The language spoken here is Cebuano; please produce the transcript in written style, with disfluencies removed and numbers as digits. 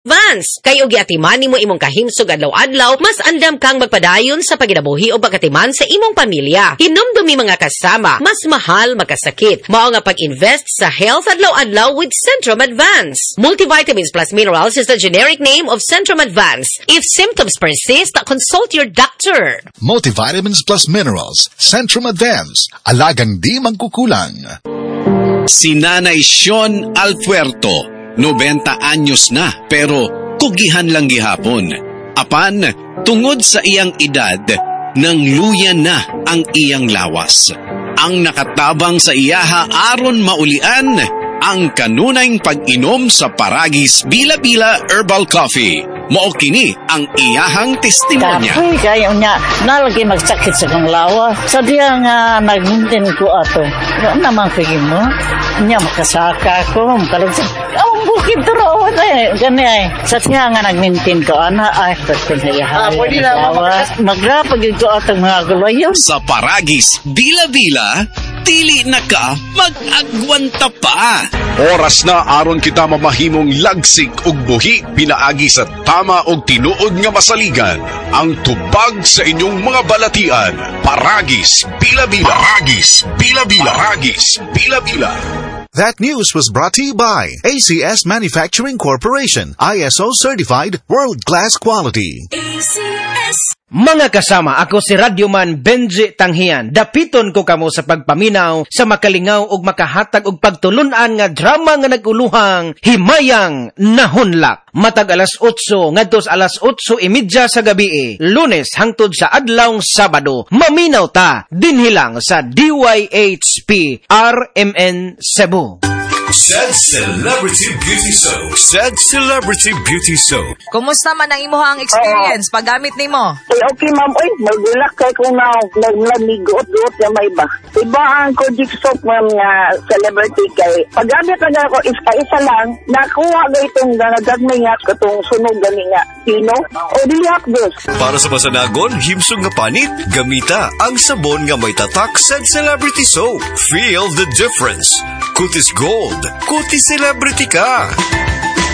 Advance. Kay og giatiman nimo imong kahimsog adlaw-adlaw, mas andam kang magpadayon sa paginabuhi o pagkatiman sa imong pamilya. Hinumdumi, mga kasama, mas mahal makasakit. Mao nga pag-invest sa health adlaw-adlaw with Centrum Advance. Multivitamins plus minerals is the generic name of Centrum Advance. If symptoms persist, consult your doctor. Multivitamins plus minerals. Centrum Advance. Alagang di mangkukulang. Si Nanay Sean Alpuerto, 90 anyos na, pero kugihan lang gihapon. Apan, tungod sa iyang edad, nang luya na ang iyang lawas. Ang nakatabang sa iyaha aron maulian ang kanunayng pag-inom sa Paragis Bila-Bila Herbal Coffee. Mao kini ang iyahang testimonya. Kapoy kayo niya, nalagi magsakit sa kong lawa. Sa diya nga nagmintin ko ato. Wa naman ko mo. Nya makasaka ko, makalagsa. Ang bukid to raw eh. Gani ay. Sa diya nga nagmintin ko, ana ay, pwede na Ah, pwede na, Magrapag ko atong mga gulayon. Sa Paragis Bila-Bila, dili na ka mag-agwanta pa. Oras na aron kita mamahimong lagsik ug buhi pinaagi sa tama og tinuod nga masaligan. Ang tubag sa inyong mga balatian. Paragis Bila-Bila. Paragis Bila-Bila. Paragis Bila-Bila. That news was brought to you by ACS Manufacturing Corporation, ISO certified, world-class quality. Mga kasama, ako si Radyoman Benji Tanghian. Dapiton ko kamo sa pagpaminaw sa makalingaw ug makahatag og pagtulunan nga drama nga naguluhang Himayang Nahunlak. Matag alas 8 ngadto sa alas 8:30 sa gabi, Lunes hangtod sa adlawng Sabado. Maminaw ta dinhi lang sa DYHP RMN Cebu. Said Celebrity Beauty Soap. Said Celebrity Beauty Soap. Kumusta man ang imuhang experience paggamit nimo? Ay, okay, ma'am. Uy, magulak kay kung na nagguot-guot na may ba. Iba ang Kojic soap, ma'am, nga celebrity kay paggamit na ako isa, isa lang, nakuha ga itong gagmay nga katong sunog gani nga pino o dili hapdos. Para sa masanagon, himsog nga panit, gamita ang sabon nga may tatak Said Celebrity Soap. Feel the difference. Kutis Gold. Kutis Celebrity ka.